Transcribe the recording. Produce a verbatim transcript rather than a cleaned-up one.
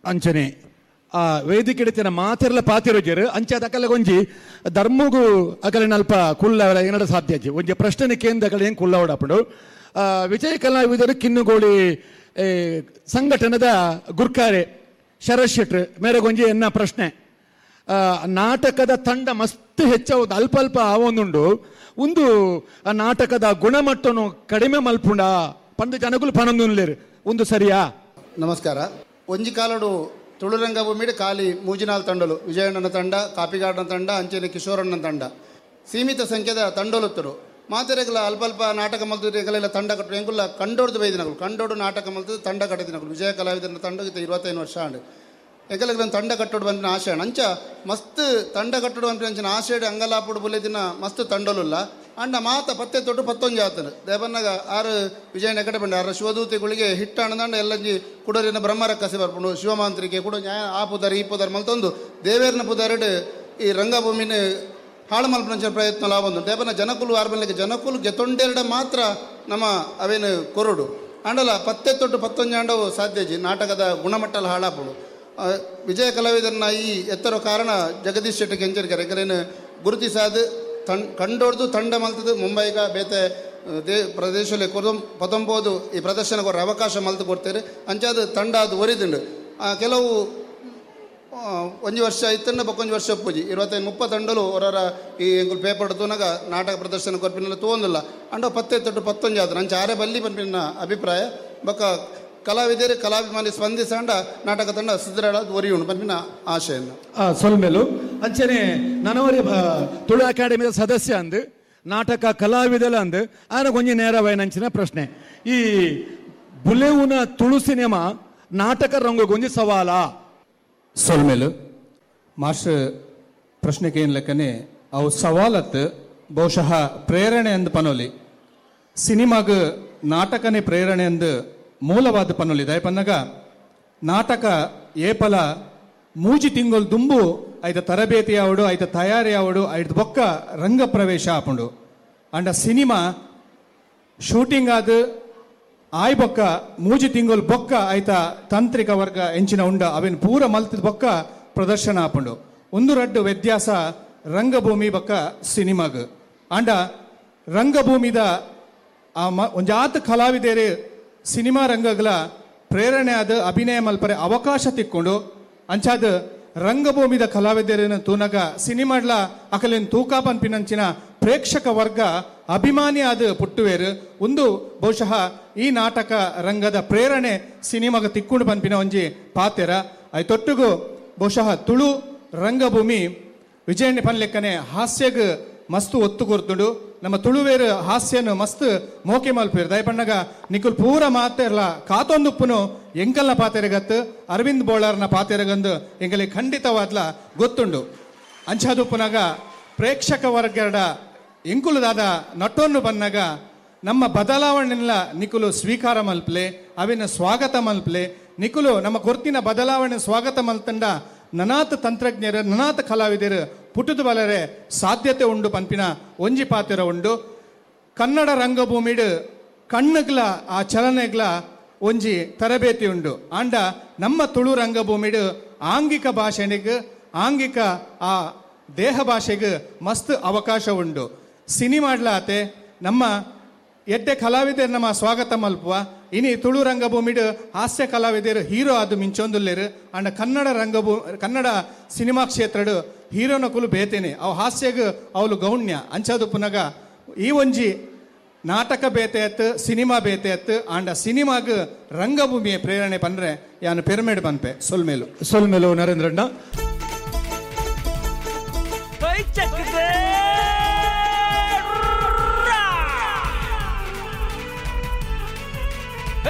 ಅಂಚನೆ ಆ ವೇದಿಕೆ ಮಾತೆರ್ಲ ಪಾತಿರೋಜರು ಅಂಚೆ ಅಕಲೆ ಒಂಜಿ ಧರ್ಮಗು ಅಕಲಿನ ಅಲ್ಪ ಕುಲ್ಲ ಏನಾರ ಸಾಧ್ಯ ಅಜ್ಜಿ ಒಂಜಿ ಪ್ರಶ್ನೆ ಕೇಂದ್ರ ಅಕಲೆ ಏನು ಕುಲ್ಲ ಓಡಾಪುಂಡು. ವಿಜಯ ಕಲಾವಿದರು ಕಿನ್ನುಗೋಳಿ ಸಂಘಟನದ ಗುರ್ಕಾರೆ ಶರತ್ ಶೆಟ್ರು ಮೇರೆಗೊಂಜಿ ಎನ್ನ ಪ್ರಶ್ನೆ, ನಾಟಕದ ತಂಡ ಮಸ್ತ್ ಹೆಚ್ಚಾವುದು ಅಲ್ಪ ಅಲ್ಪ ಆವೊಂದುಂಡು, ಒಂದು ಆ ನಾಟಕದ ಗುಣಮಟ್ಟನು ಕಡಿಮೆ ಮಲ್ಪುಂಡ ಪಂದು ಜನಗಳು ಪನೊಂದುಲ್ಲೇರು, ಒಂದು ಸರಿಯಾ? ನಮಸ್ಕಾರ. ಒಂಜಿ ಕಾಲಡು ತುಳುರಂಗಭೂಮಿಡು ಖಾಲಿ ಮೂಜಿನಾಲ್ ತಂಡಲು, ವಿಜಯಣ್ಣನ ತಂಡ, ಕಾಪಿಗಾಡನ ತಂಡ, ಅಂಚೆನೆ ಕಿಶೋರಣ್ಣನ ತಂಡ, ಸೀಮಿತ ಸಂಖ್ಯೆದ ತಂಡಲುತ್ತರು. ಮಾತೆರೆಗಲ ಅಲ್ಪ ಅಲ್ಪ ನಾಟಕ ಮಲ್ತದ ಎಂಗಲೆಲ್ಲ ತಂಡ ಕಟ್ಟು ಎಂಕುಲ್ಲ ಕಂಡೋಡ್ದು ಬೈದಿನಗಳು ಕಂಡೋಡು ನಾಟಕ ಮಲ್ತದ ತಂಡ ಕಟ್ಟಿದಿನಗಳು. ವಿಜಯ ಕಲಾವಿದನ ತಂಡ ಇರುವತ್ತೈದು ವರ್ಷ ಆಂಡು ಎಂಕಲೆಗ್ ತಂಡ ಕಟ್ಟೋಡು ಬಂದಿನ ಆಶೆ ಅಂಚ ಮಸ್ತ್ ತಂಡ ಕಟ್ಟೋಡು ಬಂದಿನ ಅಂಚಿನ ಆಶೆಡ್ ಅಂಗಲಾಪುಡು ಬುಲೆದಿನ ಮಸ್ತ್ ತಂಡಲುಲ್ಲ. ಅಂಡ ಮಾತ ಪತ್ತೆ ತೊಟ್ಟು ಪತ್ತೊಂಜಿ ಆತನು ದೇವನ್ನಾಗ ಆರು ವಿಜಯನ ಕಡೆ ಬಂಡ ಆರು ಶಿವದೂತಿಗಳಿಗೆ ಹಿಟ್ಟಾಣದಂಡ ಎಲ್ಲಂಜಿ ಕುಡರಿನ ಬ್ರಹ್ಮರ ಕಸಿ ಬರ್ಪುಂಡು ಶಿವಮಾಂತ್ರಿಕೆ ಕುಡ ನ್ಯಾಯ ಆ ಪುದಾರಿ ಈ ಪುದಾರಿ ಮಲ್ತೊಂದು ದೇವೇರ್ನ ಪುದಾರಿಡ್ ಈ ರಂಗಭೂಮಿನ ಹಾಳು ಮಲ್ಪನಂಚಿನ ಪ್ರಯತ್ನ ಲಾಭ ದೇವನ ಜನಕುಲು ಆರ್ಬನ್ಲಿಕ್ಕೆ ಜನಕುಲು ಗೆತೊಂಡೆರಡ ಮಾತ್ರ ನಮ್ಮ ಅವೇನು ಕೊರಡು ಅಂಡಲ ಪತ್ತೆ ತೊಟ್ಟು ಪತ್ತೊಂಜಿ ಅಂಡವು ಸಾಧ್ಯಜಿ ನಾಟಕದ ಗುಣಮಟ್ಟಲ ಹಾಳಾಪುಡು. ವಿಜಯ ಕಲಾವಿದರನ್ನ ಈ ಎತ್ತರ ಕಾರಣ ಜಗದೀಶ್ ಶೆಟ್ಟಿ ಕೆಂಚರ್ಕರ್ ಎಂಕಲೇನು ಗುರುತಿಸಾದ ತಣ್ ಕಂಡೋಡ್ದು ತಂಡ ಮಲ್ತದು ಮುಂಬೈಗ ಬೇತೆ they ಪ್ರದೇಶದಲ್ಲಿ ಕೊರಂ ಪತೊಂಬೋದು ಈ ಪ್ರದರ್ಶನ ಕೊರ ಅವಕಾಶ ಮಲ್ತು ಕೊಡ್ತಾರೆ ಅಂಚಾದ ತಂಡ ಅದು ಒರಿದುಂಡು. ಕೆಲವು ಒಂಜಿ ವರ್ಷ ಇತ್ತಂಡ ಬೊಕ್ಕೊಂಜಿ ವರ್ಷ ಪೂಜಿ ಇರುವತ್ತೈದು ಮುಪ್ಪ ತಂಡಲು ಹೊರರ ಈ ಎಂಕುಲು ಪೇಪರ್ ತೂನಾಗ ನಾಟಕ ಪ್ರದರ್ಶನ ಕೊರ್ಪಿನೆಲ್ಲ ತೋಂದಿಲ್ಲ ಅಂಡ ಪತ್ತೆ ತೊಟ್ಟು ಪತ್ತೊಂಜಿ ಆದ್ರೆ ಅಂಚ ಆರೆ ಬಲ್ಲಿ ಪನ್ಪಿನ ಅಭಿಪ್ರಾಯ ಬೊಕ್ಕ ಕಲಾವಿದರು ಕಲಾಭಿಮಾನಿ ಸ್ಪಂದಿಸಂಡ ನಾಟಕ ತಂಡ ಸುದೃಢ ಒರಿಯುಂಡು ಪನ್ಪಿನ ಆಶೆಯನ್ನು ಸೊಲ್ಮೇಲು. ಅಂಚನೆ ನನವರಿ ತುಳು ಅಕಾಡೆಮಿಯ ಸದಸ್ಯ ಅಂದು ನಾಟಕ ಕಲಾವಿದಲ ಅಂದು ಆನ ಕೊಂಚ ನೇರವಾಯಿನಂಚಿನ ಪ್ರಶ್ನೆ, ಈ ಬುಲೆವುನ ತುಳು ಸಿನಿಮಾ ನಾಟಕ ರಂಗಗೊಂಜಿ ಸವಾಲ? ಸೊಲ್ಮೇಲು ಮಾಸ್ಟರ್ ಪ್ರಶ್ನೆಗೆ ಏನು ಲೆಕ್ಕನೆ ಅವು ಸವಾಲತ್ತು ಬಹುಶಃ ಪ್ರೇರಣೆ ಅಂದು ಪನೋಲಿ ಸಿನಿಮಾಗ ನಾಟಕನೇ ಪ್ರೇರಣೆ ಅಂದು ಮೂಲವಾದ ಪನೋಲಿ. ದಯಪನ್ನಾಗ ನಾಟಕ ಏಪಲ ಮೂಜಿ ತಿಂಗಳು ದುಂಬು ಐತ ತರಬೇತಿ ಆವಡು ಐತ ತಯಾರಿ ಆವಡು ಐದು ಬೊಕ್ಕ ರಂಗ ಪ್ರವೇಶ ಆಪುಂಡು. ಅಂಡ ಸಿನಿಮಾ ಶೂಟಿಂಗ್ ಆದ ಆಯ್ ಬೊಕ್ಕ ಮೂಜಿ ತಿಂಗಳು ಬೊಕ್ಕ ಐತ ತಾಂತ್ರಿಕ ವರ್ಗ ಎಂಚಿನ ಉಂಡ ಅವೇನು ಪೂರ ಮಲ್ತದ ಬೊಕ್ಕ ಪ್ರದರ್ಶನ ಆಪುಂಡು. ಒಂದು ರಡ್ಡು ವ್ಯತ್ಯಾಸ ರಂಗಭೂಮಿ ಬೊಕ್ಕ ಸಿನಿಮಾಗ. ಅಂಡ ರಂಗಭೂಮಿದ ಆ ಮ ಒಂಜಾತ ಕಲಾವಿದೇರು ಸಿನಿಮಾ ರಂಗಗಳ ಪ್ರೇರಣೆ ಆದ ಅಭಿನಯ ಮಲ್ಪರೆ ಅವಕಾಶ ತಿಕ್ಕೊಂಡು ಅಂಚಾದ ರಂಗಭೂಮಿದ ಕಲಾವಿದರನ್ನು ತೂನಗ ಸಿನಿಮಾಡ್ಲ ಅಕಲೇನು ತೂಕ ಪನ್ಪಿನಂಚಿನ ಪ್ರೇಕ್ಷಕ ವರ್ಗ ಅಭಿಮಾನಿ ಆದ ಪುಟ್ಟುವೇರು. ಒಂದು ಬಹುಶಃ ಈ ನಾಟಕ ರಂಗದ ಪ್ರೇರಣೆ ಸಿನಿಮಾಗ ತಿಕ್ಕೊಂಡು ಪನ್ಪಿನ ಒಂಜಿ ಪಾತೆರ. ಐತೊಟ್ಟಿಗೂ ಬಹುಶಃ ತುಳು ರಂಗಭೂಮಿ ವಿಜಯಣ್ಣ ಪನ್ಲೆಕ್ಕನೆ ಹಾಸ್ಯಗ್ ಮಸ್ತ್ ಒತ್ತು ಕೊರ್ತುಂಡು. ನಮ್ಮ ತುಳುವೇರು ಹಾಸ್ಯನು ಮಸ್ತ್ ಮೋಕೆ ಮಲ್ಪೇರು. ದಯಪಣ್ಣಗ ನಿಕುಲ್ ಪೂರ ಮಾತೆರ್ಲ ಕಾತೊಂದುಪ್ಪುನು ಎಂಕಲ್ನ ಪಾತೆರಗತ್ತು ಅರವಿಂದ್ ಬೋಳಾರ್ನ ಪಾತೆರಗಂದು ಎಂಕಲಿ ಖಂಡಿತವಾದ್ಲ ಗೊತ್ತುಂಡು. ಅಂಚಾದುಪ್ಪುನಾಗ ಪ್ರೇಕ್ಷಕ ವರ್ಗದ ಎಂಕುಲುದಾದ ನಟೊನ್ನು ಬನ್ನಾಗ ನಮ್ಮ ಬದಲಾವಣೆಲ್ಲ ನಿಕುಲು ಸ್ವೀಕಾರ ಮಲ್ಪಲೆ, ಅವಿನ ಸ್ವಾಗತ ಮಲ್ಪಲೆ. ನಿಕುಲು ನಮ್ಮ ಕೊರ್ತಿನ ಬದಲಾವಣೆ ಸ್ವಾಗತ ಮಲ್ತಂಡ ನನಾತ ತಂತ್ರಜ್ಞರು ನನಾತ ಕಲಾವಿದರು ಪುಟ್ಟುದು ಬಲರೆ ಸಾಧ್ಯತೆ ಉಂಡು ಪನ್ಪಿನ ಒಂಜಿ ಪಾತೆರ ಉಂಡು. ಕನ್ನಡ ರಂಗಭೂಮಿಡು ಕಣ್ಣುಗ್ಲ ಆ ಚಲನೆಗ್ಲ ಒಂಜಿ ತರಬೇತಿ ಉಂಡು. ಆಂಡ ನಮ್ಮ ತುಳು ರಂಗಭೂಮಿಡು ಆಂಗಿಕ ಭಾಷೆನಿಗೆ ಆಂಗಿಕ ಆ ದೇಹ ಭಾಷೆಗೆ ಮಸ್ತ್ ಅವಕಾಶ ಉಂಡು. ಸಿನಿಮಾಡ್ಲಾತೆ ನಮ್ಮ ಎಡ್ಡೆ ಕಲಾವಿದರು ನಮ್ಮ ಸ್ವಾಗತ ಮಲ್ಪುವ. ಇನಿ ತುಳು ರಂಗಭೂಮಿಡು ಹಾಸ್ಯ ಕಲಾವಿದರು ಹೀರೋ ಅದು ಮಿಂಚೊಂದುಲ್ಲೇರು. ಅಂಡ ಕನ್ನಡ ರಂಗಭೂ ಕನ್ನಡ ಸಿನಿಮಾ ಕ್ಷೇತ್ರಡು ಹೀರೋನ ಕುಲು ಬೇತೇನೆ ಅವು ಹಾಸ್ಯಗ್ ಅವಳು ಗೌಣ್ಯ ಅಂಚದು ಪುನಗ ಈ ಒಂಜಿ ನಾಟಕ ಬೇತೆ ಅತ್ತು ಸಿನಿಮಾ ಬೇತೆ ಅತ್ತು ಆಂಡ ಸಿನಿಮಾಗ್ ರಂಗಭೂಮಿಯ ಪ್ರೇರಣೆ ಪನ್ರೆ ಯಾನು ಪೆರ್ಮೇಡ್ ಪನ್ಪೆ. ಸೊಲ್ಮೇಲು ಸೊಲ್ಮೇಲು ನರೇಂದ್ರಣ್ಣ.